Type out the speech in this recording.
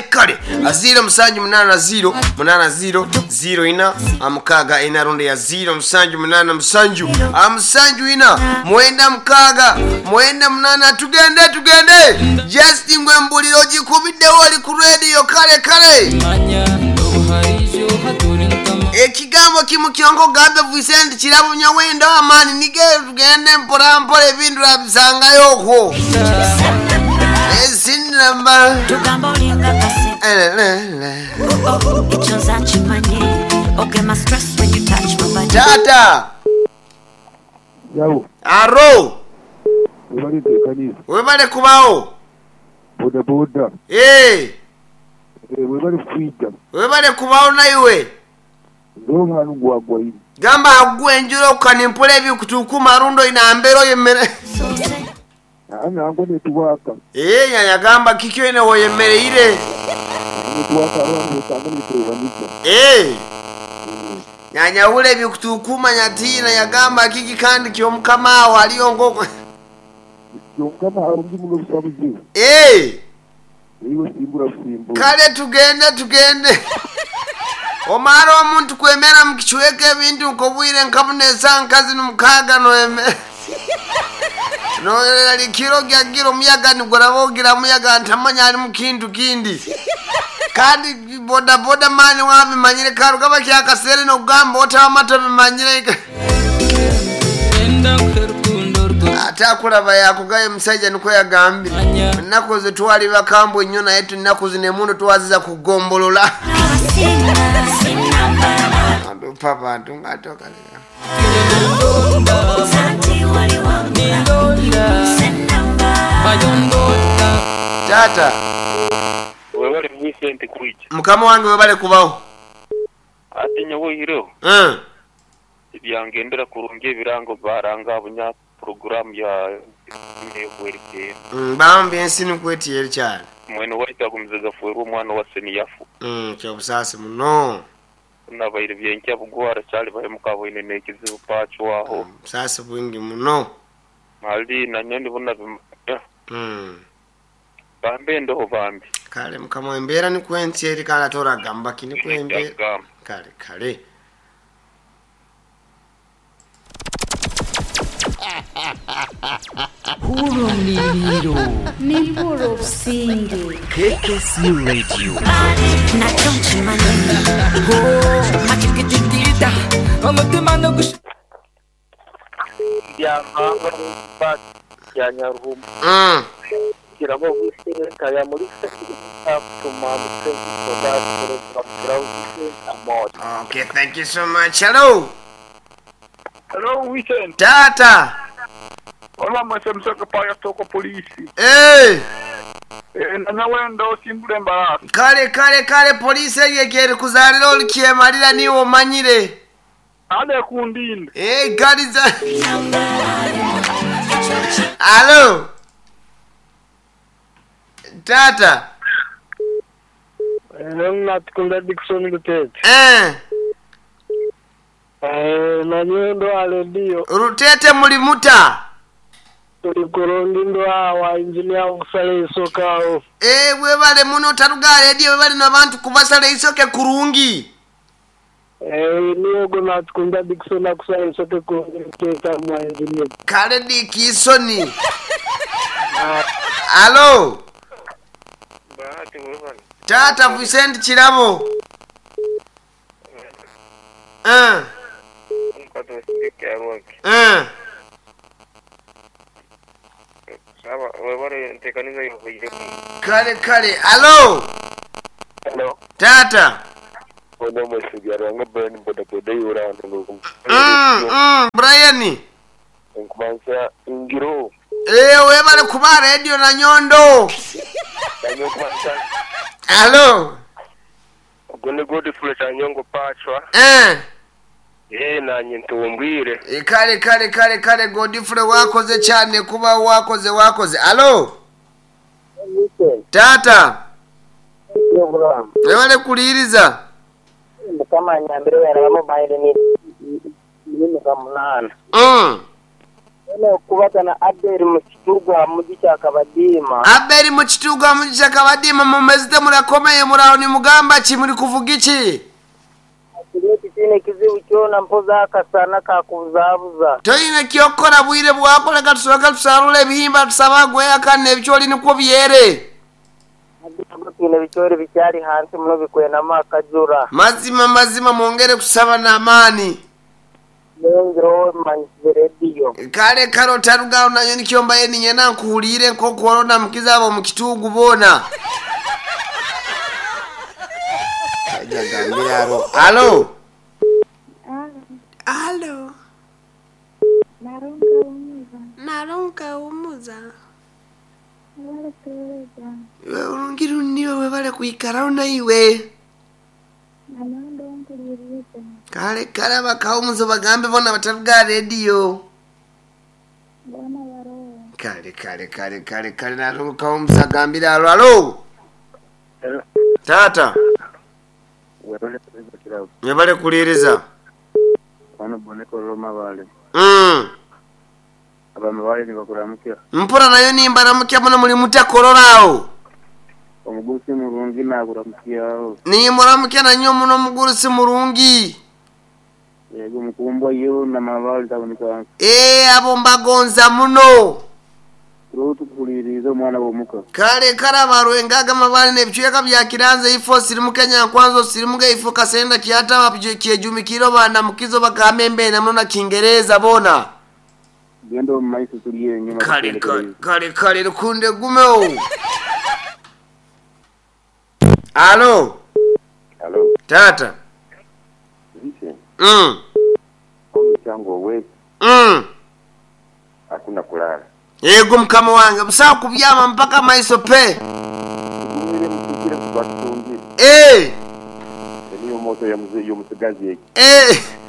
Kale kale 0780 80 04 64 rundi ya 0787 74 96 98. Tugende tugende just ngwe mbuliro ogikubiddewo oli ku radio. Kale kale ekigambo kimu kyonka ogambe Vicent Kirabo nyawendo amaani nige tugende mpola mpola ebintu abisangayo okwo esinamba. Tugamba olinga kasi. Oh, ekyo nze nkimanyi. Ogema stress when you touch my body. Tata. Yawo, aro. Webale nteekaniza. Webale kubawo. Boda boda. Eh, Webale kwija. Webale kubawo naiwe. Ndohanu gwagwaine. Gamba agwe enjura okanimpula ebikutukuma rundo inambero yemmere. Nango netuwaka. Eh, yagamba kikyo ine woyemmereire. Netuwaka abantu besanga niturebanika. Eh. Nyanyawula ebikutukuma nyatina yagamba kiki kandi kyomukama awo aliyo ngoko. Kyomukama harungi muno busabuzi. Eh. Iwe simbura busimbura. Kale tugende tugende. Omara omuntu kwemera mukichweka ebintu nkobwire nkabunesa nkazi numukaga noeme. Nolikiro gyagira omuyaga nigurabogira muyaga ntamanya ali mukintu kindi. Kandi boda boda mani wabimanyire karugaba kyakasere nokugamba otawamata bimanyire. Ate akulaba yakugaye omusajja nikwo yagambire. Ennaku ze twali bakambwe nnyo naye ennaku zino emundu twaziza kugombolola. Adupa bantu ng'atokaleka. Tata. Webale Vicent kwija. Mukama wange webale kubaho. Ate nyowoireho. Byangendera kurungi ebirango baranga abunya program ya nekwerekera. Bambi ensi nikwetiyeri cyane. Mwene waita gumizaga fuerwa omwana wa seniyafu. Kyobusaasi muno. Nabaire byenkya bugwara cyali bahemuka boine nekizibu pachwaho. Busaasi bwingi muno. Mali nanyoni buna bimanya. Bambe ndoho bambi. Kale mukama embeera nikwentiyeri kandi atoragamba ki nikwembeera. Kale kale. Hurumliliro. Nimpura obusinge. KKC Radio. Nakyo nkimanyi. Makikitikita. Omutima nogush. Byamanga ba ya Nyaruhumbu. Kirabo Vicent ya muri Okay, thank you so much. Hello. Hello, Vicent. Tata. Olá, mas eu não sei que pai eu tô com a polícia. Ei! Nanyawenda osimbula embarasi. Kale kale kale polisi eyekere kuzalira olikyemalira niwe omanyire. Ale kundinde. Eh, galiza. Hello. Tata. Natukunda Dickson Rutete. Eh. Nanyendo aledio. Rutete mulimuta. Tulikorondi ndo awa engineer okusala isoka awo. Eh, webale muno taruga radio webale n'abantu kubasala isoke kurungi. Eh, niyo natukunda Dickson akusala isoke kurungi Rutete mwa engineer. Kale Dickson. Hello. Bahati webale. Tata Vicent Kirabo. Kale kale. Hello. Hello. Tata. Ono mwesibyaro wange Brian boda boda yura ndo. Brian. Nkumansa ingiro. Eh, webale kuba radio na nyondo. Nkumansa. Hello. Gone Godfrey Chanyongo pachwa. Eh. Eh, nanye ntumbwire. Kale kale kale kale Godfrey wakoze cyane kuba wakoze wakoze. Hello. Tata. Webale kuliriza. Mukama nyambire wera mobile ni ni 8. Kubaza na Abel Mukiturwa mugi Kabadiima. Abeli Mukitugwa mugisha Kabadima, mumezite murakomeye, muraho nimugamba ki, muri kuvuga iki? Kine kizibu kyona, mpoza akasana kakubuzabuza. Toyine kyokora, bwire bwakoleka, tusoboka tusarula ebihimba, tusaba gweyakana ebikyoli nikwo byere. Twine ebikyori bikyali hansi muno bikwenamu akajura. Mazima mazima, mwongere kusaba n'amaani. Nengiro manyisize rediyo. Kale kale, otarugaho nayo nikyo mbaye ninyenda nkuhuliire nk'okuhorona mukiza abo mu kitugu boona. Ajagambire alo alo Alo, Narunga umuza. Naronka umuza. Waletuweza. Iwe urungi runiwe, webale kwikaraho naiwe. Nanondo mpuliriza. Kale kale, abakawumuzo bagambe bona bataruga rediyo. Bona baroho. Kale kale kale kale kale, naronka kawumuzo agambire alo alo. Tata. Webale kuliza kirabo. Webale kuliiriza. Wano boneko roma bale. Abamabale nibakuramukira. Mpura nayo nimbaramukya muno, muli mutakororaawo? Omugusi murungi nakuramukiraho. Nimuramukya nanyo muno, omugurusi murungi. Yego, mukumbwa yo namabale taboneka. Ee, abo mbagonza muno. Turo tukukuliriza omwana w'omuka. Kale kale, abarwengaga amabale n'ebicweka bya Kiranze, ifo sirimuke Nyankwanzo, sirimuke ifo Kasenda, Kyataba, Kyejumikiro, banamukizo bagambe embeena muno na Kingereza bona. Genda omu maiso, tuli enyuma. Kale kale kale kale, lukunde gumewo. Alo. Halo. Tata. Vincent. Omukyango owezi. Hakuna kulala. Yego mukama wange, busawa kubyama mpaka maiso pe. Tugumire mutukire kubatungire. Eh. Niyo moto ya mzee y'omusigazi eki. Eh.